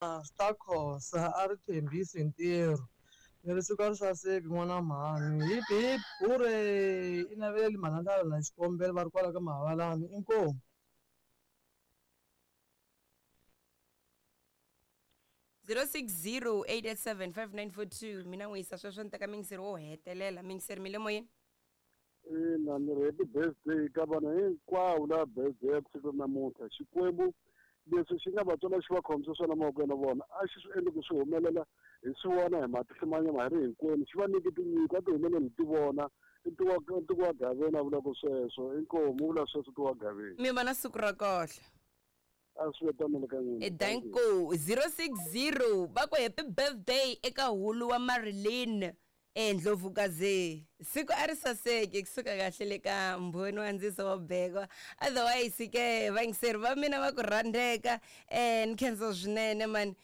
Master Khosa a ri tshembisi ntirho ni ri siku a ri saseki n'wana mhani hip hip hurray i naveleli mhalamhala na xikombelo va ri kwala ka Mahavalani inkomu. 0608875942 mina n'wi yisa sweswo ni teka mingiseri wo hetelela mingiseri mi le moyeni. Ina ni ri happy birthday ka vanhu hinkwavo lava birthday ya ku siku namuntlha. Xikwembu leswi xi nga va tswala xi va khomisa swona mavokweni ya vona a xi swi endli ku swi humelela hi swi vona hi matihlo ma nyama hi ri hinkwenu xi va nyike tinyiko a ti humeleli hi ti vona i ntiko wa Gaveni a vulaka sweswo inkomu u vula sweswo ntiko wa Gaveni. Mi va na siku ra kahle. A swi ve tano le ka n'wina. E danko 060 va ku happy birthday eka hulu wa Marilyn e Ndlovukazi siku a ri saseki kusuka kahle le ka mbhoni wa ndziso wa bekwa otherwise ke vayingiseri va mina va ku rhandzeka ni khensa swinene mani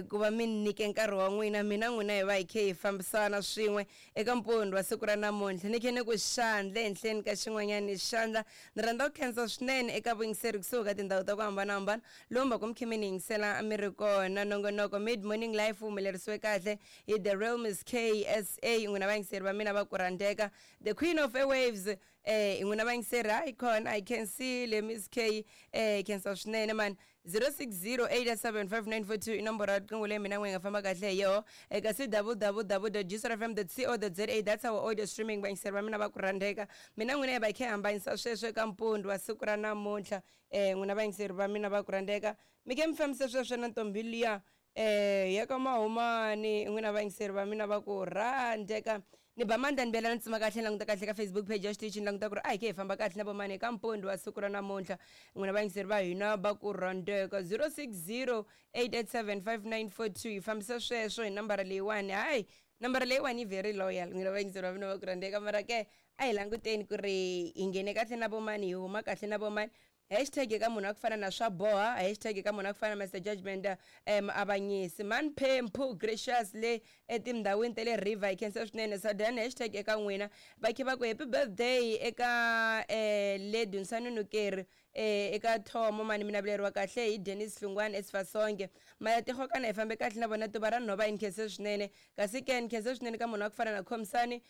ku va mi ni nyike nkarhi wa n'wina mina n'wina hi va hi khe hi fambisana swin'we eka mpundzu wa siku ra namuntlha ni khe ni ku xandla ehenhleni ka xin'wanyana xandla ni rhandza ku khensa swinene eka vuyingiseri kusuka ka tindhawu ta ku hambanahambana lomu va ku mi khe mi ni yingisela mi ri kona nongonoko mid morning life wu humelerisiwe kahle hi the real Miss KSA n'wina vayingiseri va mina va ku rhandzeka the queen of airwaves n'wina vayingiseri hayi khona I can see le Miss K khensa swinene mani 0608875942 i nomboro ya riqingho leyi mina n'we hi nga famba kahle hi yoho eka c www jisrfm co za that's our audio streaming vayingiseri va mina va ku rhandzeka mina n'wina hi va hi khe hi hambanyisa sweswo eka mpundzu wa siku ra namuntlha n'wina vayingiseri va mina va ku rhandzeka mi khe mi fambisa sweswo na ntombi liya ya ka Mahumani n'wina vayingiseri va mina va ku rhandzeka ni ba mandla ni bela ni tsima kahle ni languta kahle ka Facebook page ya xitichi ni languta ku ri a hi ke hi famba kahle na vomani eka mpundzu wa siku ra namuntlha n'wina vayingiseri va hina va ku rhandzeka 0608875942 hi fambisa sweswo hi nambara leyiwani hayi nambara leyiwani yi very loyal n'wina vayingiseri va mina va ku rhandzeka mara ke a hi languteni ku ri hi nghene kahle na vomani hi huma kahle na vomani Hashtag eka munhu wa ku fana na swa boha hashtag eka munhu wa ku fana na Mister Judgment muavanyisi Man Phemphu Gracious le etindhawini ta le River hi khensa swinene Sadan hashtag eka n'wina va khe va ku happy birthday eka le Dunsani Nukeri eka Thomo mani mi naveleriwa kahle hi Dennis Hlungwani eSifasonke Mayatirhokana hi fambe kahle na vona tuva ra nhova hi nkhense swinene kasi ke ni khense swinene ka munhu wa ku fana na Khomisani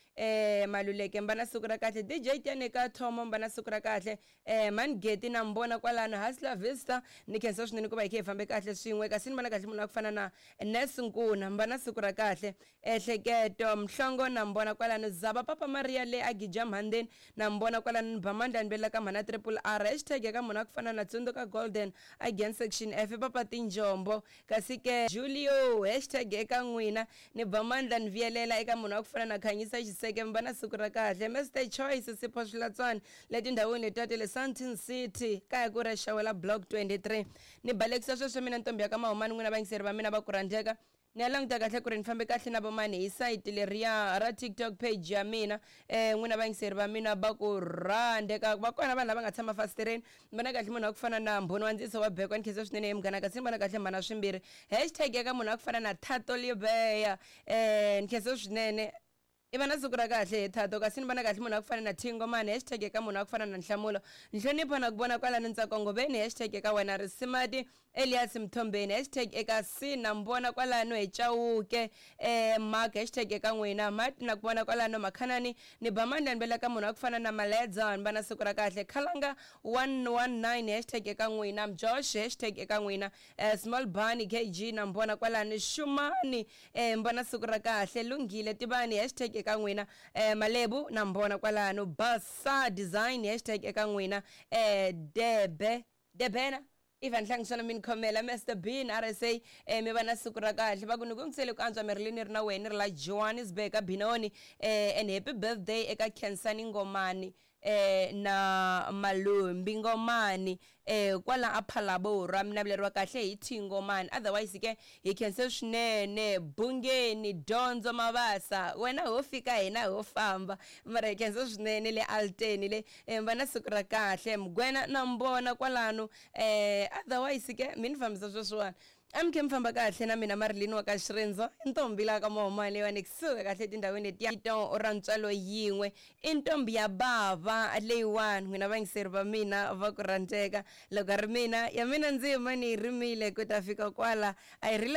Maluleke mba na siku ra kahle DJ Tyane ka Thomo mba na siku ra kahle Mhani Geti na mi vona kwalano Hustler Vista ni khensa swinene ku va hi khe hi fambe kahle swin'we kasi ni vona kahle munhu wa ku fana na Nurse Nkuna mi va na siku ra kahle Ehleketo Mhlongo na mi vona kwalano Zaba Papa Maria le a Gija Mhandeni na mi vona kwalano ni ba mandla ni vela ka mhana Triple R hashtag ya ka munhu wa ku fana na Tsundzuka Golden again section F Papa Tinjombo kasi ke Julio hashtag eka n'wina Ni ba mandla ni vuyelela eka munhu wa ku fana na Khanyisa Xiseke mi va na siku ra kahle. Mister Choice Sipho Swilatswana le tindhawini letiya ta le Sandton City kaya ku ri Xawela Block 23. Ni balekisa sweswo mina ntombi ya ka Mahumani n'wina vayingiseri va mina va ku rhandzeka. Ni ya languta kahle ku ri ni fambe kahle na vomani hi sayiti leriya ra TikTok page ya mina. N'wina vayingiseri va mina va ku rhandzeka va kona vanhu lava nga tshama fasitereni Ni vona kahle munhu wa ku fana na Mbhoni wa Ndziso wa Bekwa ni khensa swinene he munghana kasi ni vona kahle mhana swimbirhi hashtag ya ka munhu wa ku fana na Thato Libeya ni khensa swinene i va na siku ra kahle he Thato kasi ni vona kahle munhu wa ku fana na Thingomani hashtag ya ka munhu wa ku fana na Nhlamulo Nhlonipho na ku vona kwalano Ntsako Ngobeni hashtag ya ka wena Risimati Elias Mthombeni hashtag eka C na mbona kwalano hi Chauke Mark hashtag eka n'wina Mat na ku vona kwalano Makhanani ni ba mandla ni vela ka munhu wa ku fana na Maledza ni va na siku ra kahle Khalanga 119 hashtag eka n'wina Josh hashtag eka n'wina Small Bunny KG na mbona kwalano Shumani mbona siku ra kahle Lunghile Tivani hashtag eka n'wina Malebu na mbona kwalano Basa Design hashtag eka n'wina Debe Debena Ivan Hlangiswana mi ni khomela Mr Bean RSA mi va na siku ra kahle va ku ni ku ngisele ku antswa Marilyn ni ri na wena ni ri la Johannesburg ka Benoni and happy birthday eka Khensani Ngomani na Malumbi Ngomani kwala a Phalaborwa mi naveleriwa kahle hi T Ngomani otherwise ke hi khense swinene Bungeni Dyondzo Mabasa wena ho fika hina ho famba mara hi khensa swinene le Alteni le mi va na siku ra kahle Mugwena na mbona kwalano otherwise ke mi ni fambisa sweswiwani a mi khe mi famba kahle na mina Marilyn wa ka Xirindzo i ntombi la ka Mahumani leyiwani kusuka kahle etindhawini letiya to ra ntswalo yin'we i ntombi ya bava leyiwani n'wina vayingiseri va mina va ku rhandzeka loko a ri mina ya mina ndzima ni yi rimile ku ta fika kwala a yi rila.